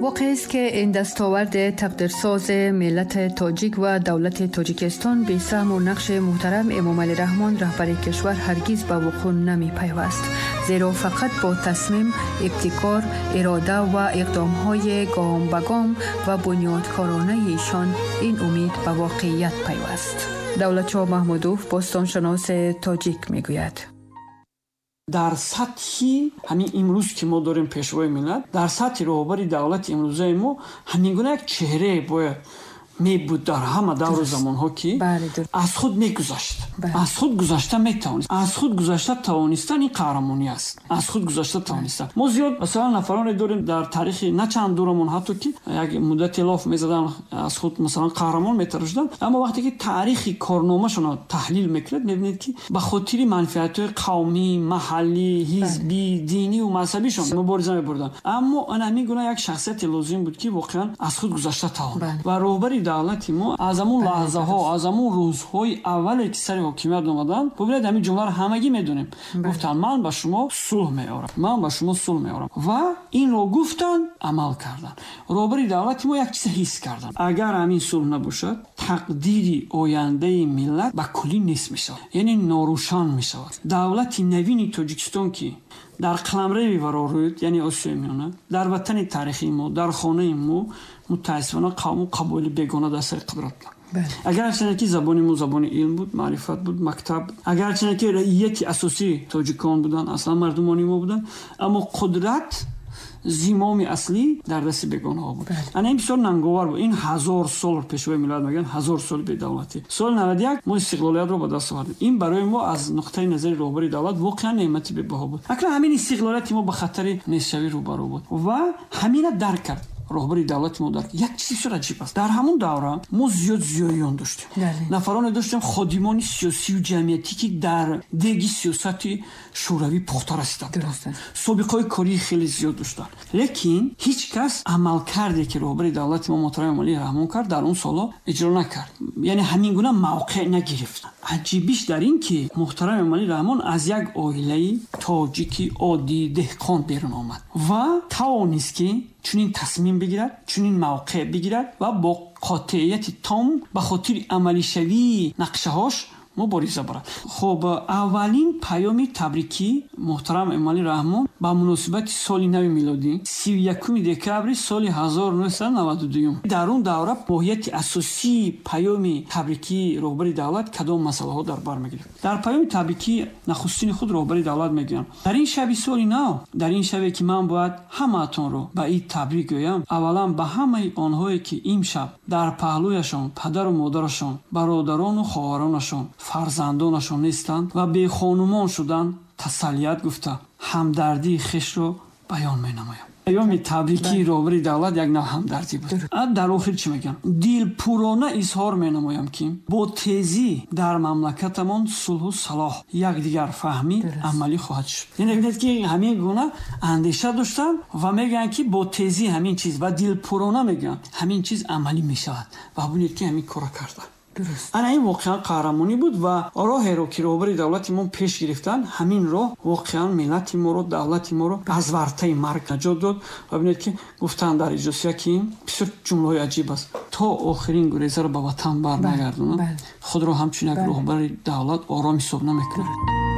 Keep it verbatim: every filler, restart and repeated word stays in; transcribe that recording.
واقعی است که این دستاورد تقدیرساز ملت تاجیک و دولت تاجیکستان به سهم و نقش محترم امام علی رحمان رهبر کشور هرگز به وقوع نمی پیوست، زیرا فقط با تصمیم، ابتکار، اراده و اقدامهای گام به گام و بنیادکارانه ایشان این امید به واقعیت پیوست. دولتشاه محمودوف باستانشناس تاجیک میگوید: Дар сатҳи ҳамин имрӯз ки мо дорем пешвои миллат, дар сатҳи роҳбари давлати имрӯзаи мо ҳамин гуна як чеҳрае бояд мебуд дар ҳама давру замонҳо, ки аз худ мегузашт, аз худ гузашта метавонист. Аз худ гузашта тавонистан ин қаҳрамонӣ аст. Аз худ гузашта тавонистан. Мо зиёд масалан нафароне дорем дар таърихи на чанд дурамон, ҳатто ки як муддате лоф мезадан, аз худ масалан қаҳрамон метарошиданд, аммо вақте ки таърихи корномашонро таҳлил мекунед, мебинед, ки ба хотири манфиатҳои қавмӣ, маҳаллӣ, ҳизбӣ, диниву мазҳабишон мубориза мебурданд. Аммо ана ҳамин гуна як шахсияте лозим буд, ки воқеан аз худ гузашта тавонад. Ва роҳбари давлати мо аз ҳамун лаҳзаҳо, аз ҳамун рӯзҳои аввале ки сари ҳокимият омаданд, бубинед, ҳамин ҷумларо ҳамагӣ медонем, гуфтанд: «Ман ба шумо сулҳ меорам, ман ба шумо сулҳ меорам». Ва инро гуфтанд, амал карданд. Роҳбари давлати мо як чиза ҳис карданд: агар ҳамин сулҳ набошад, тақдири ояндаи миллат ба куллӣ нест мешавад, яъне норӯшан мешавад. Давлати навини Тоҷикистон, ки дар қаламрави варорӯд, яъне Осиёи Миёна, дар ватани таърихии мо, дар хонаи мо, мутаассифона қавму қабоили бегона дар сари қудрат буданд. Агарчине ки забони мо забони илм буд, маърифат буд, мактаб, агарчине ки раияти асосӣ тоҷикон буданд, аслан мардумони мо буданд, аммо қудрат, зимоми аслӣ дар дасти бегонаҳо буд. Ана ин бисёр нанговар буд. Ин ҳазор сол, пешвои миллат мегӯянд, ҳазор соли бедавлатӣ. Соли наваду як мо истиқлолиятро ба даст овардем. Ин барои мо аз нуқтаи назари роҳбари давлат воқеан неъмати бебаҳо буд. Акнун ҳамин истиқлолияти мо ба хатари нестшавӣ рӯбарӯ буд ва ҳамина дарк кард роҳбари давлати мо. Дарк як чизи бисёр аҷиб аст: дар ҳамон давра мо зиёд зиёиён доштем, нафароне доштем, ходимони сиёсию ҷамъиятӣ, ки дар деги сиёсати шӯравӣ пухта расида буданд, собиқаҳои кории хеле зиёд доштанд. Лекин ҳеҷ кас амалкарде ки роҳбари давлати мо муҳтарам Эмомалӣ Раҳмон кард, дар он солҳо иҷро накард, яъне ҳамин гуна мавқеъ нагирифт. Аҷибиш дар ин ки муҳтарам Эмомалӣ Раҳмон аз як оилаи тоҷики оддии деҳқон берун омад ва тавонист, ки чунин тасмим бигирад, чунин мавқеъ бигирад ва бо қотеияти том ба хотири амалишавии нақшаҳош мубориза барад. Хуб, аввалин паёми табрикӣ муҳтарам Эмомалӣ Раҳмон ба муносибати соли нави милодӣ сию якуми декабри соли ҳазору нӯҳсаду наваду дуюм. Дар он давра моҳияти асосии паёми табрикии роҳбари давлат кадом масъалаҳо дар бар мегирифт? Дар паёми табрикии нахустини худ роҳбари давлат мегӯянд: «Дар ин шаби соли нав, дар ин шабе ки ман бояд ҳамаатонро ба ид табрик гӯям, аввалан ба ҳамаи онҳое, ки имшаб дар паҳлӯяшон падару модарашон, бародарону хоҳаронашон, фарзандонашон нестанд ва бехонумон шуданд, тасаллият гуфта, ҳамдардии хешро баён менамоям». Паёми табрикии роҳбари давлат як нав ҳамдардӣ буд. Дар охир чӣ мегӯям? «Дилпурона изҳор менамоям, ки бо тезӣ дар мамлакатамон сулҳу салоҳ, якдигарфаҳмӣ амалӣ хоҳад шуд». Яъне бинед, ки ҳамин гуна андеша доштанд ва мегӯянд, ки бо тезӣ ҳамин чиз, ва дилпурона мегӯянд, ҳамин чиз амалӣ мешавад. Ва бинед, ки ҳамин корро карданд. Ана ин воқеан қаҳрамонӣ буд ва роҳеро ки роҳбари давлати мо пеш гирифтанд, ҳамин роҳ воқеан миллати моро, давлати моро аз вартаи марг наҷот дод. Ва бинед, ки гуфтанд дар иҷлосия, ки бисёр ҷумлаҳои аҷиб аст: «То охирин гурезаро ба ватан барнагардонам, худро ҳамчун як роҳбари давлат ором ҳисоб намекунам».